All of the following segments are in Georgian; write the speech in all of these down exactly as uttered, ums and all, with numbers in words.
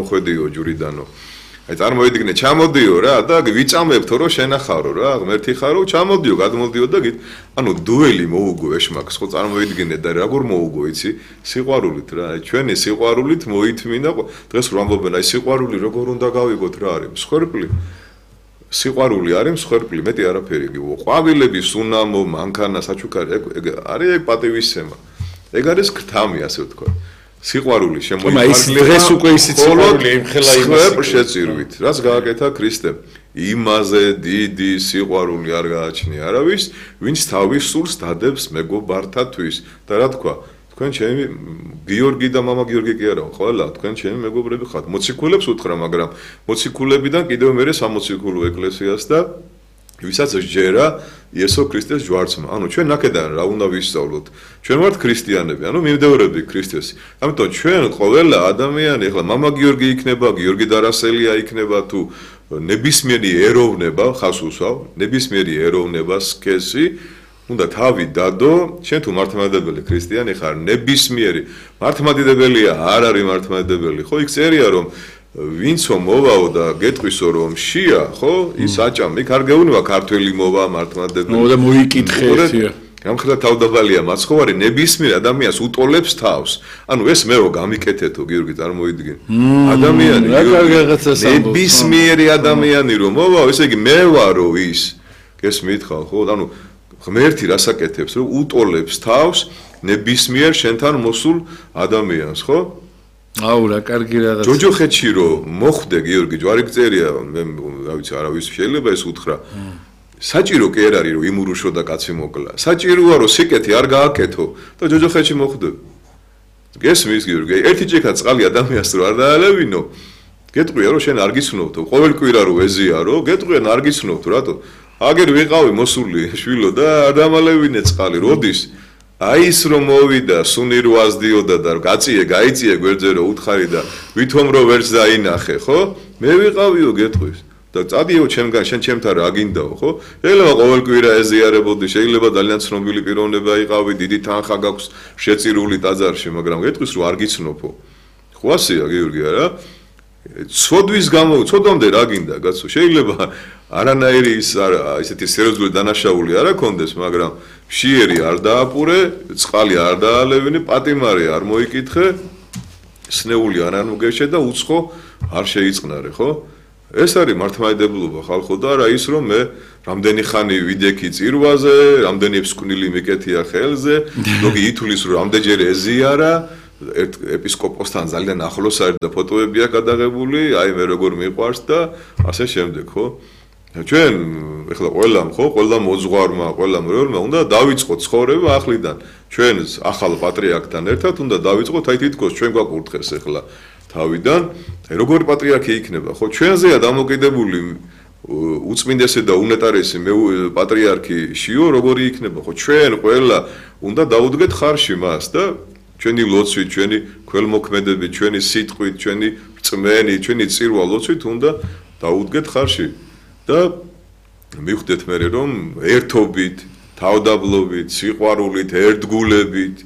გამოხვედიო ჯვრიდანო. აი წარმოვიდგინე, ჩამოდიო რა და ვიწამებთო რომ შენახარო რა, ღმერთი ხარო, ჩამოდიო, გადმოდიო და გით, ანუ დუელი მოუგო ეშმაკს, ხო წარმოვიდგინე და როგორ მოუგო, იცი? სიყვარულით რა, აი ჩვენი სიყვარულით მოითმინა, დღეს რომ ამბობენ, აი სიყვარული როგორ უნდა გავიგოთ რა არის, მსხვერპლი. სიყვარული არის მსხვერპლი, მეტი არაფერი გიყო. ყვავილების უნამო, მანქანა, საჩუქარი, ეგ არის ეგ პატივისცემა. ეგ არის ქრთამი, ასე ვთქვა. სიყვარული შემოიფარგლება. ის დღეს უკვე ისიც სიყვარული ემხელა იმას შეწირვით. რაც გააკეთა ქრისტემ. იმაზე დიდი სიყვარული არ გააჩნია არავის, ვინც თავის სულს დადებს მეგობართათვის. და რა თქვა? თქვენ ჩემი გიორგი და მამა გიორგი კი არა, ყველა თქვენ ჩემი მეგობრები ხართ. მოციქულებს უთხრა, მაგრამ მოციქულებიდან კიდევ მერე სამოციქულო ეკლესიას და ვისაც ჯერა იესო ქრისტეს ჯვარცმა. ანუ ჩვენ ნაკედან რა უნდა ვისწავლოთ? ჩვენ ვართ ქრისტიანები, ანუ მივდევრები ქრისტეს. ამიტომ ჩვენ ყველა ადამიანი, ახლა მამა გიორგი იქნება, გიორგი დარასელია იქნება თუ ნებისმიერი ეროვნება, ხას უსვავ, ნებისმიერი ეროვნება სქესი უნდა თავი დადო, შენ თუ მართლმადიდებელი ქრისტიანი ხარ, ნებისმიერი მართლმადიდებელია, არ არის მართლმადიდებელი, ხო, იქ წერია რომ ვინცო მოვაო და გეტყვისო რომ შია, ხო, ის აჭამ, იქ არ გეუბნება ქართველი მოვა მართლმადიდებელი. მოვიდა მოიკითხე ერთია. გამხელა თავდაბალია მაცხოვარი ნებისმიერ ადამიანს უტოლებს თავს. ანუ ეს მეო გამიკეთეთო გიორგი წარმოვიდგინე. ადამიანი ნებისმიერი ადამიანი რომ მოვაო, ესე იგი მე ვარო ის. გესმით ხალ, ხო? ანუ ღმერთი რასაკეთებს, რომ უტოლებს თავს ნებისმიერ შენთან მოსულ ადამიანს, ხო? აუ რა კარგი რაღაცა. ჯოჯოხეთში რომ მოხვდე გიორგი ჯვარი წერია, მე რა ვიცი, არავის შეიძლება ეს უთხრა. საჭირო კი არ არის რომ იმურუშო და კაცი მოკლა. საჭიროა რომ სიკეთი არ გააკეთო და ჯოჯოხეთში მოხვდე. გესმის გიორგი, ერთი ჭიქა წყალი ადამიანს რო არ დაალევინო, გეტყვია რომ შენ არ გიცნობთო, ყოველ კვირა რო ეზიარო, გეტყვიან არ გიცნობთო, რატო? აგერ ვიყავი მოსული შვილო და არ დამალევინე წყალი, როდის? აი ის რომ მოვიდა, სუნი რო აზდიოდა და გაწიე, გაიწიე გვერდზე რო უთხარი და ვითომ რო ვერც დაინახე, ხო? მე ვიყავიო გეტყვის. და წადიო ჩემგან, შენ ჩემთან რა გინდაო, ხო? შეიძლება ყოველ კვირა ეზიარებოდი, შეიძლება ძალიან ცნობილი პიროვნება იყავი, დიდი თანხა გაქვს შეწირული ტაძარში, მაგრამ გეტყვის რომ არ გიცნობო. ხო ასეა გიორგი არა? ცოდვის გამო, ცოდამდე რა გინდა, კაცო? შეიძლება არანაირი ის ისეთი სერიოზული დანაშაული არ აქონდეს, მაგრამ მშიერი არ დააპურე, წყალი არ დაალევინე, პატიმარი არ მოიკითხე, სნეული არ ანუგეშე და უცხო არ შეიწყნარე, ხო? ეს არის მართლმადიდებლობა ხალხო და არა ის რომ მე რამდენი ხანი ვიდექი წირვაზე, რამდენი ეპისკოპოსი მიკეთია ხელზე, ლოგი ითulis რომ რამდენჯერ ეზიარა, ერთ ეპისკოპოსთან ძალიან ახლოს არის და ფოტოები აქვს გადაღებული, აი მე როგორ მიყვარს და ასე შემდეგ, ხო? ჩვენ ეხლა ყველამ ხო, ყველა მოძღვარმა, ყველა მრევლმა უნდა დავიწყოთ ცხოვრება ახლიდან. ჩვენ ახალ პატრიარქთან ერთად უნდა დავიწყოთ აი თითქოს ჩვენ გვაკურთხეს ეხლა თავიდან, აი როგორი პატრიარქი იქნება, ხო? ჩვენზეა დამოკიდებული უწმინდესი და უნეტარესი პატრიარქი შიო როგორი იქნება, ხო? ჩვენ ყველა უნდა დაუდგეთ ხარში მას და ჩვენი ლოცვით, ჩვენი ქველმოქმედებით, ჩვენი სიტყვით, ჩვენი რწმენით, ჩვენი წირვა ლოცვით უნდა დაუდგეთ ხარში. და მივხვდეთ მე რომ ერთობით, თავდაბლობით, სიყვარულით, ერთგულებით,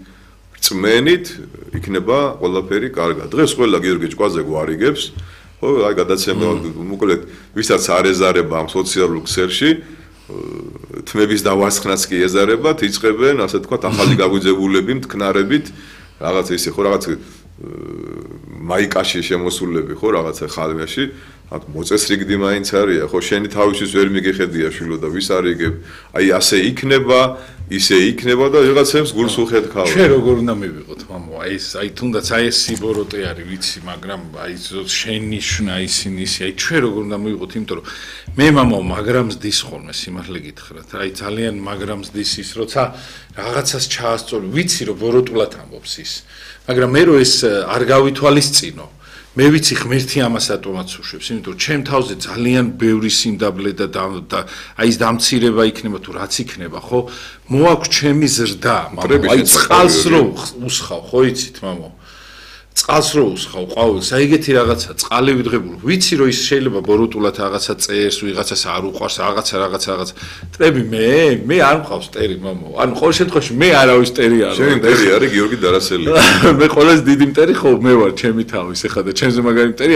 რწმენით იქნება ყველაფერი კარგად. დღეს ყველა გიორგი ჭკვაზე გვარიგებს, ხო, აი გადაცემა მოკლედ, ვისაც არ ეზარება ამ სოციალურ ქსელში, თმების დავარცხნაც კი ეზარებათ, იწყებენ, ასე თქვა, ახალი გაგვიძებულები მტკნარებით, რაღაც ისე ხო, რაღაც მაიკაში შემოსულები ხო, რაღაცა ხალმეში მოწესრიგდი მაინც არია, ხო, შენი თავისთვის ვერ მიგეხედია შვილო და ვის არიგებ, აი ასე იქნება, ისე იქნება და ვიღაცებს გულს უხეთქავ. ჩვენ როგორ უნდა მივიღოთ, მამო, აი ეს, აი თუნდაც აი ეს სიბოროტე არის, ვიცი, მაგრამ აი შენი შნა ისინი ისე, აი ჩვენ როგორ უნდა მივიღოთ, იმიტომ რომ მე მამო მაგრამ ზდის ხოლმე სიმართლე გითხრათ, აი ძალიან მაგრამ ზდის ის, როცა რაღაცას ჩაასწორი, ვიცი რომ ბოროტულად ამბობს ის, მაგრამ მე რომ ეს არ გავითვალისწინო მე ვიცი ღმერთი ამას ატომაც უშვებს, იმიტომ რომ ჩემ თავზე ძალიან ბევრი სიმდაბლე და აი ეს დამცირება იქნება თუ რაც იქნება, ხო? მოაქვს ჩემი ზრდა, მამო, აი წყალს რო უსხავ, ხო იცით, მამო? წყალს რო უსხავ, ყვავილს, აი ეგეთი რაღაცა, წყალი ვიძღებული. ვიცი რომ ის შეიძლება ბოროტულად რაღაცა წერს, ვიღაცას არ უყვარს, რაღაცა რაღაცა რაღაცა. ტრები მე, მე არ მყავს ტერი, მამო. ანუ ყოველ შემთხვევაში მე არავის ტერი არ ვარ. შენ ტერი არის გიორგი დარასელი. მე ყველაზე დიდი მტერი ხო მე ვარ ჩემი თავის, ეხლა და ჩემზე მაგარი მტერი